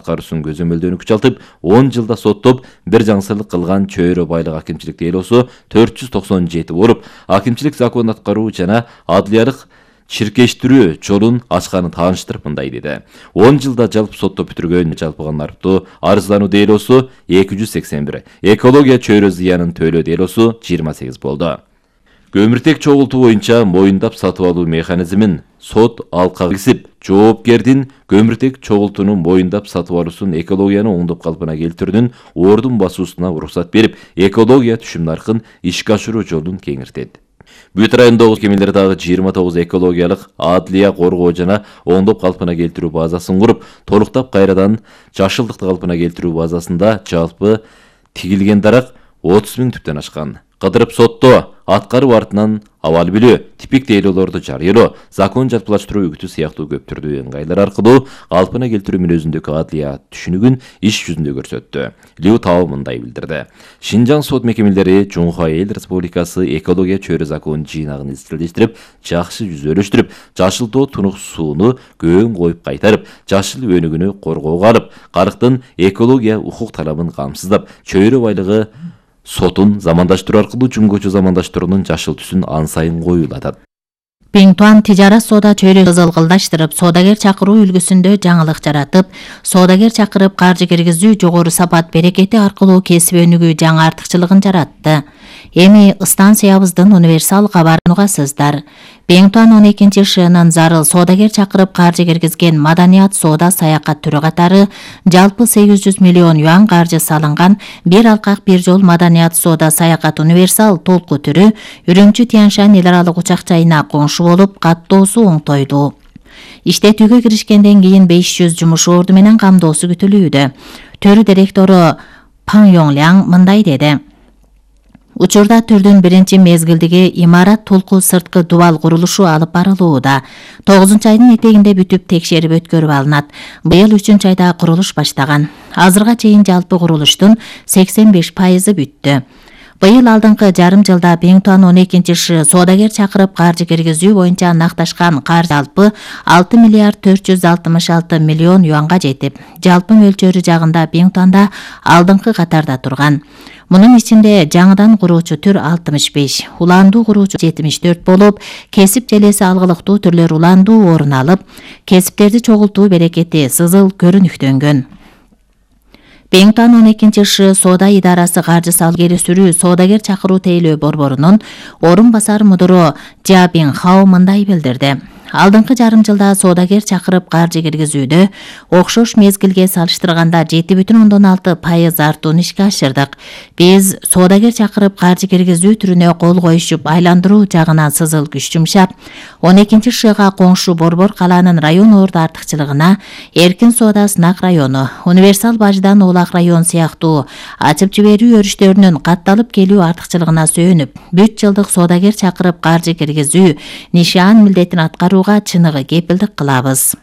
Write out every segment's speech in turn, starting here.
аткаруусунун көзөмөлдөөүнү күчалтып, 10 жылда соттоп, бир жаңсыздык кылган чөйрө байлык акимчилик делосу 497 болуп, акимчилик закон аткаруу жана адliyalyk чиркештирүү жолун ачканын тааныштырып мындай деди. 10 жылда жалпы сотто бүтүргөн жалпы арптуу арыздануу делосу 281, экология чөйрө зыянын төлөө делосу 28 болду. Көмүртек чогултуу боюнча моюндап сатып алуу механизмин сот алкага киргизип, жоопкердин көмүртек чогултууну моюндап сатып алуусун экологияны оңдоп калпына келтирүүнүн ордун басуусуна уруксат берип, экология түшүм наркын ишке ашыруу жолун кеңиртет. Бүт райондогу мекемелер дагы 29 экологиялык адlия коргоо жана оңдоп калпына келтирүү базасын куруп, толуктап кайрадан жашылдыкты калпына келтирүү базасында жалпы тигилген дарак 30 000 түптөн ашкан. Кыдырып сотто аткаруу артынан абал билүү, типик делолорду жарыялоо, закон жалпылаштыруу үгүтү сыяктуу көптүрдүү ыңгайлар аркылуу калпына келтирүү мүнөзүндөгү адlия түшүнүгүн иш жүзүндө көрсөттү. Лю Тао мындай билдирди. Шинжаң сот мекемелери Жумха Эл Республикасы экология чөйрө законун жыйнагын изчилдештирип, жакшы жүзөлөштүрүп, жашылтоо тунук сууну көөн коюп кайтарып, жашыл өнүгүүнү коргоого алып, карыктын экология укук талабын камсыздап, чөйрө байлыгы сотун замандаштыруу аркылуу жөнгөчө замандаштыруунун жашыл түсүн ан сайын коюлатат. Биңтуан тижарат соода чөйрөсүн кызылгылдаштырып, соодагер чакыруу үлгүсүндө жаңылык жаратып, соодагер чакырып каржы киргизүү жогору сапат берекети аркылуу кесип өнүгүү жаңы артыкчылыгын жаратты. Эми станциябыздын универсал кабарын угасыздар. Биңтуан 12 шыйынын зарыл соодагер чакырып каржы киргизген маданият соода саякат түрү катары жалпы 800 миллион юан каржы салынган бир алкак бир жол маданият соода саякат универсал толку түрү Үрүмчү Тянь-Шань эл аралык учак жайына коңшу болуп каттоосу оңтойду. Иштетүүгө киришкенден кийин 500 жумуш орду менен камдоосу күтүлүүдө. Төр директору Пан Йоңляң мындай деди. Учурда түрдүн биринчи мезгилдеги имарат толку сырткы дубал курулушу алып барылууда. 9-айдын этегинде бүтүп текшерип өткөрүп алынат. Быйыл 3-айда курулуш баштаган. Азырга чейин жалпы курулуштун 85% бүттү. Быйыл алдыңкы жарым жылда Биңтуан 12 шы соодагер чакырып каржы киргизүү боюнча накташкан каржы жалпы 6 миллиард 466 миллион юанга жетип, жалпы мөлчөрү жагында Биңтуанда алдыңкы катарда турган. Мунун ичинде жаңыдан куруучу түр 65, уландуу куруучу 74 болуп, кесип желеси алгылыктуу түрлөр уландуу орун алып, кесиптерди чогултуу берекети сызыл көрүнүктөнгөн. Биңтуан 12 шы соода идарасы каржы салуу келесүрүү соодагер чакыруу тейлөө борборунун орун басар мудуру Жа Биңхао мындай билдирди. Алдыңкы жарым жылда соодагер чакырып каржы киргизүүдө окшош мезгилге салыштырганда 7,6% артууну ишке ашырдык. Биз соодагер чакырып каржы киргизүү түрүнө кол коюшуп, айландыруу жагынан сызыл күч жумшап, 12 шыга коңшу Борбор калаанын район орду артыкчылыгына эркин соода сынак району, универсал баждан Оолак район сыяктуу ачып жиберүү өрүштөрүнүн катталып келүү артыкчылыгына сөөнүп, бүт жылдык соодагер чакырып каржы киргизүү нишан милдетин аткаруу чыныгы кепилдик кылабыз.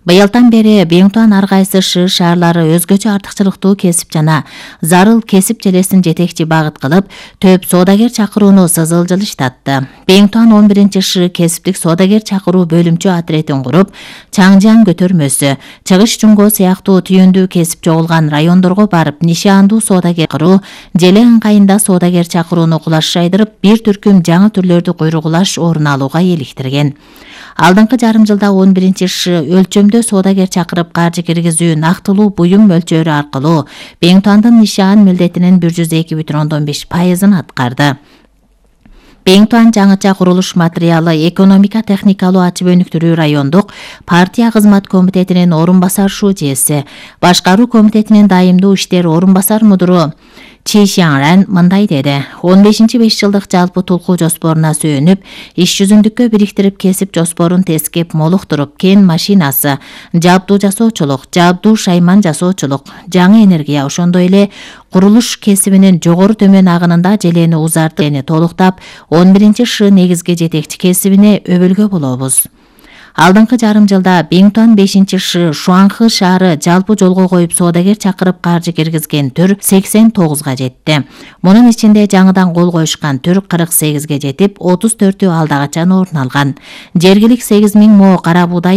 Быйылдан бери Биңтуан ар кайсы шы шаарлары өзгөчө артыкчылыктуу кесип жана зарыл кесип желесин жетекчи багыт кылып, төп соодагер чакырууну сызыл жылыштатты. Биңтуан 11 шы кесиптик соодагер чакыруу бөлүмчө отретин куруп, Чаңжан көтөрмөсү, Чыгыш Жунго сыяктуу түйүндүү кесип чогулган райондорго барып, нишандуу соодагер чакыруу, желе ыңгайында соодагер чакырууну кулаш жайдырып, бир түркүм жаңы түрлөрдү куйругулаш орун алууга иликтирген. Алдыңкы жарым жылда 11 шы өлчөмдө соодагер чакырып каржы киргизүү нактылуу буюм мөлчөрү аркылуу Биңтуандын нишан милдетинин 102,5%-ын аткарды. Биңтуан жаңыча курулуш материалы экономика техникалуу ачып өнүктүрүү райондук партия кызмат комитетинин орун басар шужеси, башкаруу комитетинин дайымдуу иштер орун басар мудуру Чи Шаңран мындай деди. 15-5 жылдык жалпы толку жоспоруна сөөнүп, иш жүзүндүккө бириктирип кесип жоспорун тескеп молуктуруп, кен машинасы, жабдуу жасоочулук, жабдуу шайман жасоочулук, жаңы энергия, ошондой эле курулуш кесибинин жогору төмөн агынында желени узартып, толуктап, 11 шы негизги жетекчи кесибине өбөлгө болобуз. Алдыңкы жарым жылда Биңтуан 5 шы Шуанхы шаары жалпы жолго коюп соодагер чакырып каржы киргизген түр 89-га жетти. Мунун ичинде жаңыдан кол коюшкан түр 48-ге жетип, 34-ü алдагачан орун алган. Жергилик 8.000 мо кара буудай